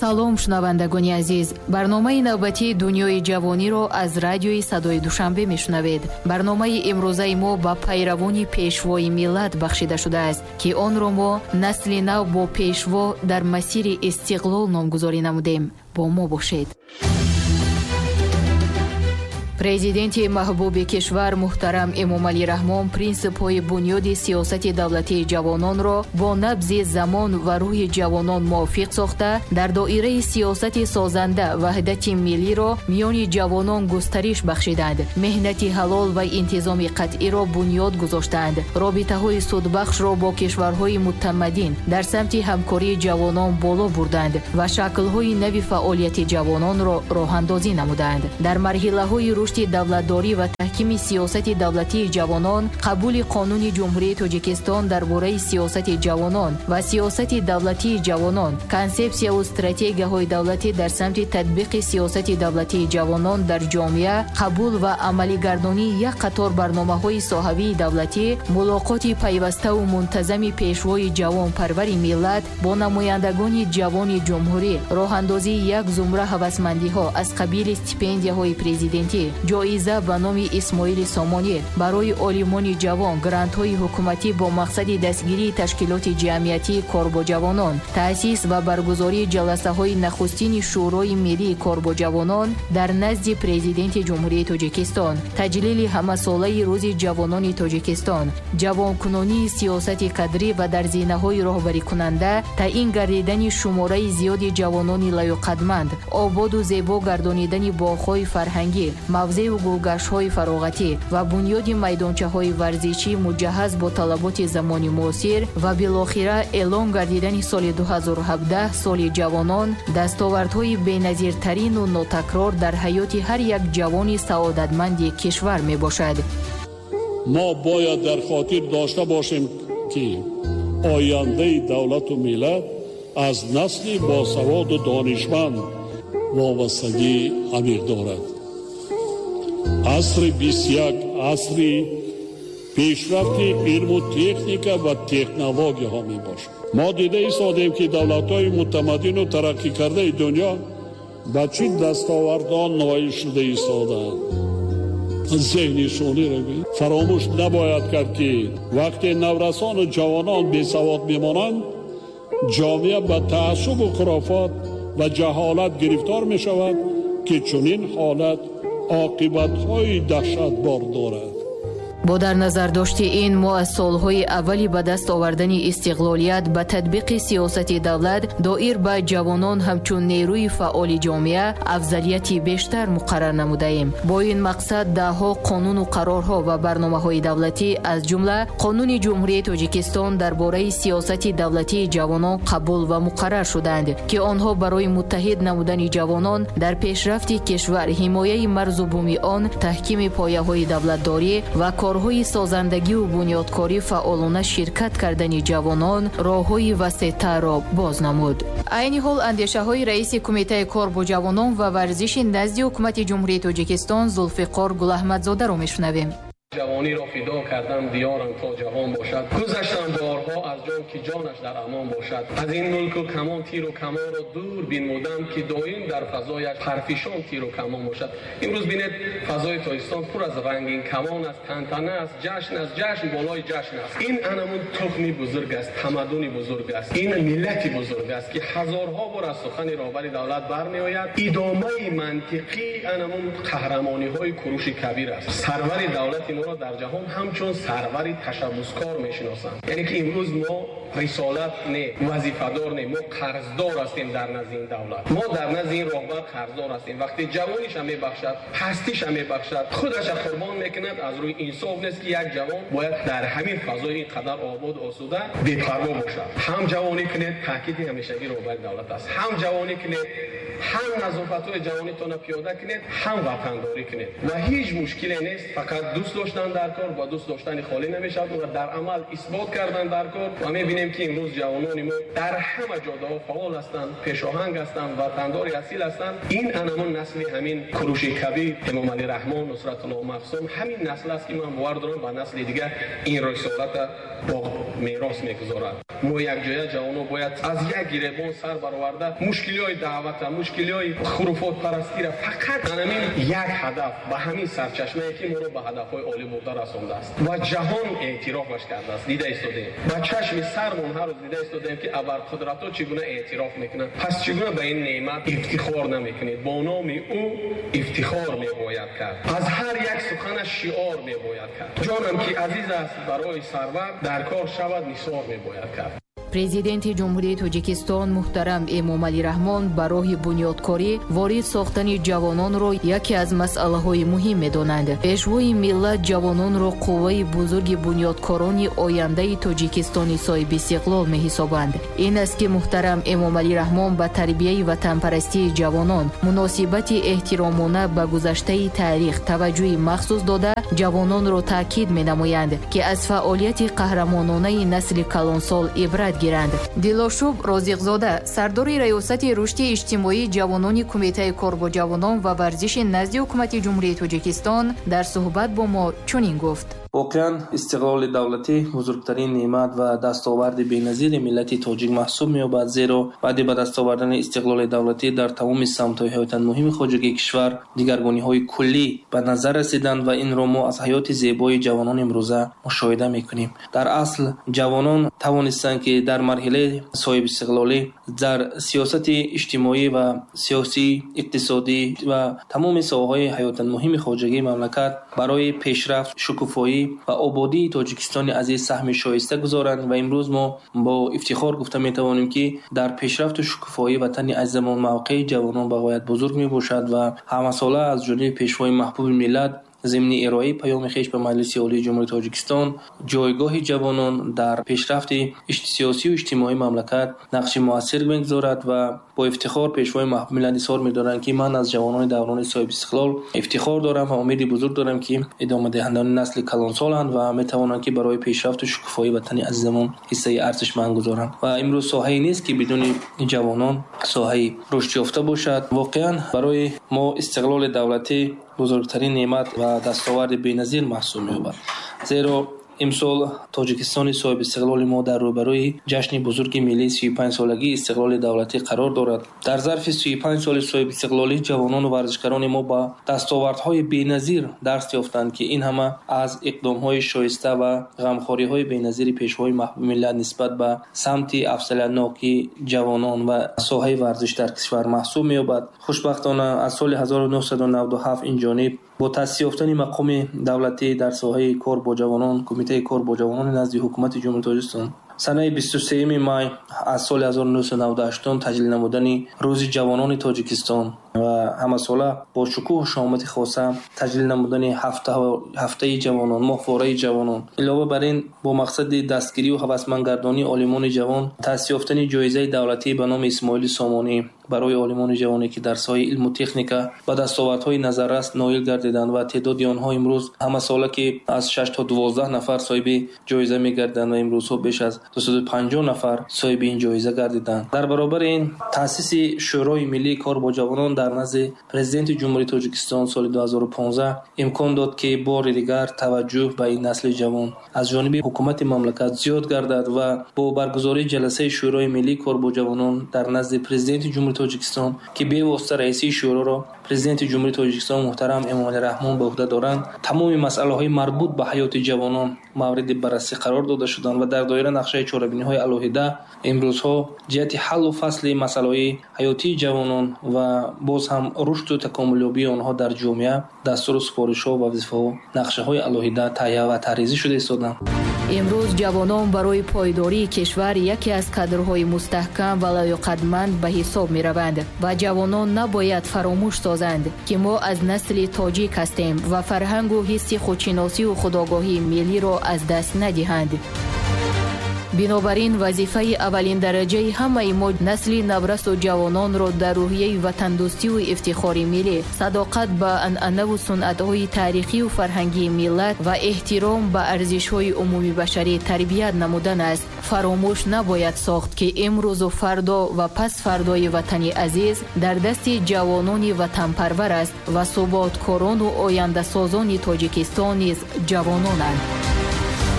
Салом, шунавандагони азиз. Барномаи навбатии «Дунёи ҷавониро» аз радиои Садои Душанбе мешунавед. Барномаи имрӯзаи мо ба пайравони пешвои миллат бахшида шудааст, ки онро мо «Насли нав бо пешво дар масири истиқлол» номгузорӣ намудем. Бо мо бошед. Президенти маҳбуби кишвар муҳтарам Эмомалӣ Раҳмон принсипҳои бунёди сиёсати давлатии ҷавононро бо набзи замон ва рӯҳи ҷавонон мувофиқ сохта, дар доираи сиёсати созанда ваҳдати миллиро миёни ҷавонон густариш бахшиданд, меҳнати ҳалол ва интизоми қатъиро бунёд гузоштанд, робитаҳои судбахшро бо кишварҳои мутамаддин дар самти ҳамкории ҷавонон боло бурданд ва шаклҳои нави фаъолияти ҷавононро роҳандозӣ намуданд. Дар марҳилаҳои рушди давлатдорӣ ва таҳкими сиёсати давлатии ҷавонон, қабули Қонуни Ҷумҳурии Тоҷикистон дар бораи сиёсати ҷавонон ва сиёсати давлатии ҷавонон, консепсияву стратегияҳои давлатӣ дар самти татбиқи сиёсати давлатии ҷавонон дар ҷомеа, қабул ва амалигардонии як қатор барномаҳои соҳавии давлатӣ, мулоқоти пайваставу мунтазами пешвои ҷавонпарвари миллат бо намояндагони ҷавони ҷумҳурӣ, роҳандозии як зумра ҳавасмандиҳо аз қабили стипендияҳои президентӣ, ҷоиза ба номи Исмоили Сомонӣ барои олимони ҷавон, грантҳои ҳукуматӣ бо мақсади дастгирии ташкилоти ҷамъиятии кор бо ҷавонон, таъсис ва баргузории ҷаласаҳои нахустини Шӯрои миллии кор бо ҷавонон дар назди Президенти Ҷумҳурии Тоҷикистон, таҷлили ҳамасолаи Рӯзи ҷавонони Тоҷикистон, ҷавонкунонии сиёсати кадрӣ ва дар зинаҳои роҳбарикунанда таъин гардидани шумораи зиёди ҷавонони лаёқатманд, ободу зебо гардонидани боғҳои фарҳангӣ, мавзеу гулгаштҳои фароғатӣ ва бунёди майдончаҳои варзишӣ, муҷаҳҳаз бо талаботи замони муосир, ва билохира эълон гардидани соли 2017 соли ҷавонон дастовардҳои беназиртарину нотакрор дар ҳаёти ҳар як ҷавони саодатманди кишвар мебошад. Мо бояд дар хотир дошта бошем, ки ояндаи давлату миллат аз насли босаводу донишманд вобастагии амиқ дорад. Асри 21 асри пешрафти илму техника ва технологияҳо мебошад. Мо дида истодем, ки давлатҳои мутамаддину тараққӣ кардаи дунё ба чӣ дастовардон ноил шуда истодаанд. Зеҳни шуниро фаромӯш набояд кард, ки вақте наврасону ҷавонон бесавод мемонанд, ҷомеа ба таассубу хурофот ва ҷаҳолат гирифтор мешавад, ки чунин ҳолат оқибатҳои даҳшатбор дорад. Бо дар назардошти ин, мо аз солҳои аввали ба даст овардани истиқлолият ба татбиқи сиёсати давлат доир ба ҷавонон ҳамчун нерӯи фаъоли ҷомеа афзалияти бештар муқаррар намудаем. Бо ин мақсад даҳҳо қонуну қарорҳо ва барномаҳои давлатӣ, аз ҷумла Қонуни Ҷумҳурии Тоҷикистон дар бораи сиёсати давлатии ҷавонон қабул ва муқаррар шуданд, ки онҳо барои муттаҳид намудани ҷавонон дар пешрафти кишвар, ҳимояи марзу буми он, таҳкими пояҳои давлатдорӣ ва корҳои созандагиву бунёдкорӣ фаъолона ширкат кардани ҷавонон роҳҳои васеътарро боз намуд. Айни ҳол андешаҳои раиси Кумитаи кор бо ҷавонон ва варзиши назди Ҳукумати Ҷумҳурии Тоҷикистон Зулфиқор Гулаҳмадзодаро мешунавем. Ҷавониро фидо кардам, диёрам то ҷавон бошад. Гузаштам борҳо аз ҷон, ки ҷонаш дар амон бошад. Аз ин мулку камон тиру камонро дур бинмудам, ки доим дар фазояш парфишон тиру камон бошад. Имрӯз бинед, фазои Тоҷикистон пур аз рангин камон аст, тантана аст, ҷашн аст, ҷашн болои ҷашн аст. Ин анамун тухми бузург аст, тамаддуни бузург аст, ин миллати бузург аст, ки ҳазорҳо бор аз сухани роҳбари давлат бармеояд. Идомаи мантиқии анамун қаҳрамониҳои Куруши Кабир аст. Сарвари давлати моро дар ҷаҳон ҳамчун сарвари ташаббускор мешиносанд. Яъне ки имрӯз мо рисолат не, вазифадор не, мо қарздор ҳастем дар назди ин давлат, мо дар назди ин роҳбар қарздор ҳастем. Вақте ҷавониша мебахшад, ҳастиша мебахшад, худаша қурбон мекунад, аз рӯи инсоф нест, ки як ҷавон бояд дар ҳамин фазои ин қадар ободу осуда бепарво бошад. Ҳам ҷавонӣ кунед, таъкиди ҳамешагии роҳбари давлат аст, ҳам ҷавонӣ кунед, ҳам назофатҳои ҷавонитонро пиёда кунед, ҳам ватандорӣ кунед ва ҳеҷ мушкиле нест. Фақат дӯст доштан дар кор, ба дӯст доштани холӣ намешавад, ва дар амал исбот кардан дар кор. Ва мебинем, ки имрӯз ҷавонони мо дар ҳама ҷодаҳо фаъол ҳастанд, пешоҳанг ҳастанд, ватандори асил ҳастанд. Ин анамон насли ҳамин Куруши Кабир, Эмомалӣ Раҳмон, Нусратулло Маҳсум, ҳамин насл аст, ки ман бовар дорам, ба насли дигар ин рисолата бо мерос мегузорад. Мо якҷоя ҷавонон бояд аз як гиребон сар бароварда мушкилиҳои даъвата, мушкилиҳои хуруфотпарастиро фақат ҳамин як ҳадаф, ба ҳамин сарчашмае ки моро ба ҳадафҳои олӣ бурда расондааст ва ҷаҳон эътирофаш кардааст, дида истодем. Ба чашми сармон ҳар рӯз дида истодем, ки абарқудратҳо чӣ гуна эътироф мекунанд. Пас чӣ гуна ба ин неъмат ифтихор намекунед? Бо номи ӯ ифтихор мебояд кард, аз ҳар як суханаш шиор мебояд кард. Ҷонам ки азиз аст барои сарвар, дар кор шавад нисор мебояд кард. Президенти Ҷумҳурии Тоҷикистон муҳтарам Эмомалӣ Раҳмон ба роҳи бунёдкорӣ ворид сохтани ҷавононро яке аз масъалаҳои муҳим медонанд. Пешвои миллат ҷавононро қувваи бузурги бунёдкорони ояндаи Тоҷикистони соҳибистиқлол меҳисобанд. Ин аст, ки муҳтарам Эмомалӣ Раҳмон ба тарбияи ватанпарастии ҷавонон, муносибати эҳтиромона ба гузаштаи таърих таваҷҷӯҳи махсус дода, ҷавононро таъкид менамоянд, ки аз фаъолияти қаҳрамононаи насли калонсол ибрат гиранд. Дилошуб Розиқзода, сардори Раёсати рушди иҷтимоии ҷавонони Кумитаи кор бо ҷавонон ва варзиши назди Ҳукумати Ҷумҳурии Тоҷикистон дар суҳбат бо мо чунин гуфт. Воқеан, истиқлоли давлатӣ бузургтарин неъмат ва дастоварди беназири миллати тоҷик маҳсуб меёбад, зеро баъди ба даст овардани истиқлоли давлатӣ дар тамоми самтҳои ҳаётан муҳими хоҷагии кишвар дигаргуниҳои куллӣ ба назар расиданд ва инро мо аз ҳаёти зебои ҷавонон имрӯза мушоҳида мекунем. Дар асл ҷавонон тавонистанд, ки дар марҳилаи соҳибистиқлолӣ дар сиёсати иҷтимоӣ ва сиёсӣ, иқтисодӣ ва тамоми соҳаҳои ҳаётан муҳими хоҷагии мамлакат барои пешрафт, шукуфоӣ ва ободии Тоҷикистони азиз саҳми шоиста гузоранд ва имрӯз мо бо ифтихор гуфта метавонем, ки дар пешрафту шукуфоии ватани азизамон мавқеи ҷавонон ба ғоят бузург мебошад ва ҳамасола аз ҷониби пешвои маҳбуби миллат зимни ироаи паёми хеш ба Маҷлиси Олии Ҷумҳурии Тоҷикистон ҷойгоҳи ҷавонон дар пешрафти сиёсию иҷтимоии мамлакат нақши муассир мегузорад ва бо ифтихор пешвои маҳбуби миллат изҳор медоранд, ки ман аз ҷавонони даврони соҳибистиқлол ифтихор дорам ва умеди бузург дорам, ки идомадиҳандагони насли калонсоланд ва метавонанд, ки барои пешрафту шукуфоии ватани азизамон ҳиссаи арзишманд гузоранд. Ва имрӯз соҳае нест, ки бидуни ҷавонон соҳаи рушдёфта бошад. Воқеан, барои мо истиқлоли давлатӣ бузургтарин неъмат ва дастоварди беназир маҳсуб меёбад, зеро имсол Тоҷикистони соҳибистиқлоли мо дар рӯбарӯи ҷашни бузурги миллии 35-солагии истиқлоли давлатӣ қарор дорад. Дар зарфи 35 соли соҳибистиқлолӣ ҷавонону варзишгарони мо ба дастовардҳои беназир дарс ёфтанд, ки ин ҳама аз иқдомҳои шоиста ва ғамхориҳои беназири пешвои маҳбуби миллат нисбат ба самти афзалиятноки ҷавонон ва соҳаи варзиш дар кишвар маҳсуб меёбад. Хушбахтона, аз соли 1997 ин ҷониб бо таъсис ёфтани мақоми давлатӣ дар соҳаи кор бо ҷавонон, Кумитаи кор бо ҷавонони назди Ҳукумати Ҷумҳурии Тоҷикистон санаи 23 май аз соли 1998 таҷлил намудани Рӯзи ҷавонони Тоҷикистон ва ҳамасола бо шукӯҳу шаҳомати хоса таҷлил намудани ҳафтаи ҷавонон, моҳвораи ҷавонон. Илова бар ин, бо мақсади дастгирию ҳавасмандгардонии олимони ҷавон таъсис ёфтани ҷоизаи давлатӣ ба номи Исмоили Сомонӣ барои олимони ҷавоне, ки дар соҳаи илму техника ба дастовардҳои назаррас ноил гардиданд ва теъдоди онҳо имрӯз ҳамасола ки аз 6 то 12 нафар соҳиби ҷоиза мегарданд ва имрӯзҳо беш аз 250 нафар соҳиби ин ҷоиза гардиданд. Дар баробари ин, таъсиси Шӯрои миллии кор бо ҷавонон дар назди Президенти Ҷумҳурии Тоҷикистон соли 2015 имкон дод, ки бори дигар таваҷҷӯҳ ба ин насли ҷавон аз ҷониби ҳукумати мамлакат зиёд гардад ва бо баргузории ҷаласаи Шӯрои миллии кор бо ҷавонон дар назди Президенти Ҷумҳурии Тоҷикистон, ки бевосита раисии шӯроро Президенти Ҷумҳурии Тоҷикистон муҳтарам Эмомалӣ Раҳмон ба уҳда доранд, тамоми масъалаҳои марбут ба ҳаёти ҷавонон мавриди баррасӣ қарор дода шуданд ва дар доираи нақшаи чорабиниҳои алоҳида имрӯзҳо ҷиҳати ҳаллу фасли масъалаҳои ҳаётии ҷавонон ва боз ҳам рушду такомулёбии онҳо дар ҷомеа дастуру супоришҳо ва вазифаҳо, нақшаҳои алоҳида таҳия ва таҳризӣ шуда истоданд. Имрӯз ҷавонон барои пойдории кишвар яке аз кадрҳои мустаҳкам ва лаёқатманд ба ҳисоб мераванд ва ҷавонон набояд фаромӯш созанд, ки мо аз насли тоҷик ҳастем ва фарҳангу ҳисси худшиносию худогоҳии миллиро аз даст надиҳанд. Бинобар ин, вазифаи аввалиндараҷаи ҳамаи мо насли наврасу ҷавононро дар рӯҳияи ватандӯстиву ифтихори миллӣ, садоқат ба анъанаву сунъатҳои таърихию фарҳангии миллат ва эҳтиром ба арзишҳои умумибашарӣ тарбият намудан аст. Фаромӯш набояд сохт, ки имрӯзу фардо ва пасфардои ватани азиз дар дасти ҷавонони ватанпарвар аст ва суботкорону ояндасозони Тоҷикистон низ ҷавононанд.